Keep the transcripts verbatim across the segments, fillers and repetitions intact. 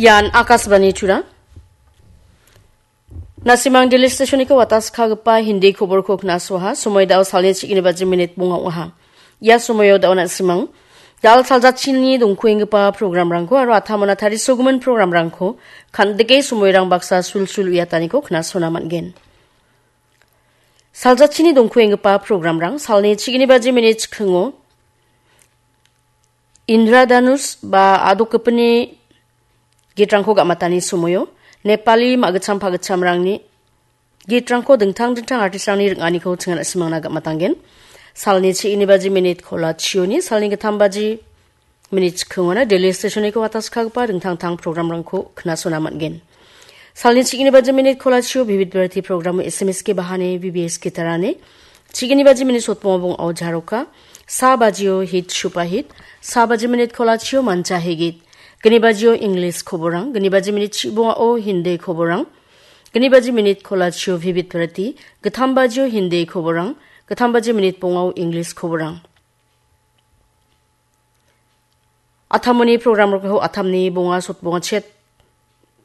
Ian Akashvani Tura. Nasimang Delhi Stationiko watas kagipa Hindi koborko knasoha, somoy dao salni chigini baji minit bonga oha. Ia somoyo dao nasimang dal saljachini dongkuenggipa programrangko aro atamona tarisogimin programrangko kandike somoyrang baksa sulsul uiataniko knasona man·gen. Saljachini dongkuenggipa programrang salni chigini baji minit chikingo Indra Dhanush ba adokgipini gitrangko gamatani somoyo Nepali ma·gitcham pagitchamrangni gitrangko dingtang dingtang artistrangni ring·aniko chingan a·simangna gamatanggen. Salni chigini baji minit kola chioni salni gittam baji minit chikingona Delhi Stationiko watas kagipa dingtang dingtang programrangko knasona man·gen. Salni chigini baji minit kola chio Vivid Bharati programo S M S ke bahane V B S gitarane. Chigini baji minit sotbonga bongao jaroka. Sa bajio hit shupa hit. Sa baji minit kola chio mancha hegit. Gini bajio English koborang. Gini baji minit chibongao Hindi koborang. Gini baji minit kola chio Vivid Bharati. Gittam bajio Hindi koborang. Gittam baji minit bongao English koborang. Atamoni programrangko atamni bonga sotbonga chet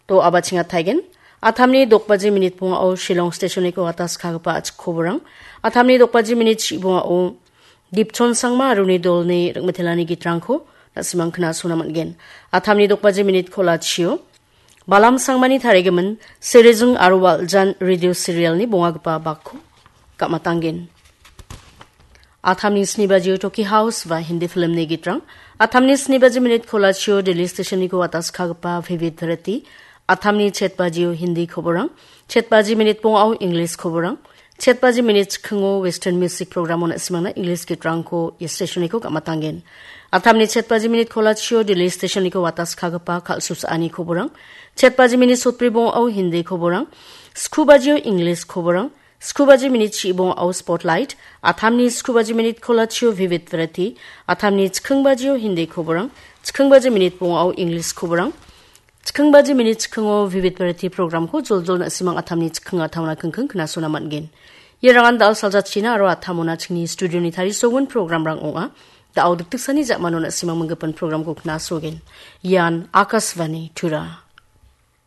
to abachinga taigen. Atamni dokbaji minit bongao Shillong Stationiko watas kagipa achik koborang. Atamni dokbaji minit chibongao Dipchon Sangma aruni dolni ring·mitelani gitrangko nasimang knasona man·gen. Atamni dokbaji minit kola chio Balam Sangmani tarigimin Serijing aro Waljan radio serialni bongagipa bakko gamatanggen. Atamni sni bajio Toki House ba Hindi filmni gitrang. Atamni sni baji minit kola chio Delhi Stationiko watas kagipa Vivid Bharati. Atamni chet bajio Hindi koborang. Chet baji minit bongao English koborang. Chet baji minit chikingo Western Music programo nasimangna English gitrangko ia stationiko gamatanggen. Atamni chet baji minit kola chio Delhi Stationiko watas kagipa kal·susaani koborang. Chet baji minit sotbri bongao Hindi koborang. Sku bajio English koborang. Sku baji minit chibongao Spotlight. Atamni sku baji minit kola chio Vivid Bharati. Atamni chiking bajio Hindi koborang. Chiking baji minit bongao English koborang. Chiking baji minit chikingo Vivid Bharati programko joljol nasimang atamni chiking atauna kingking knasona man·gen. Ia rangan dal saljachina aro atamona chingni studioni tarisogimin programrang ong·a. Dao dikdiksani ja·mano nasimang minggipin programko knasogen. Ian Akashvani Tura.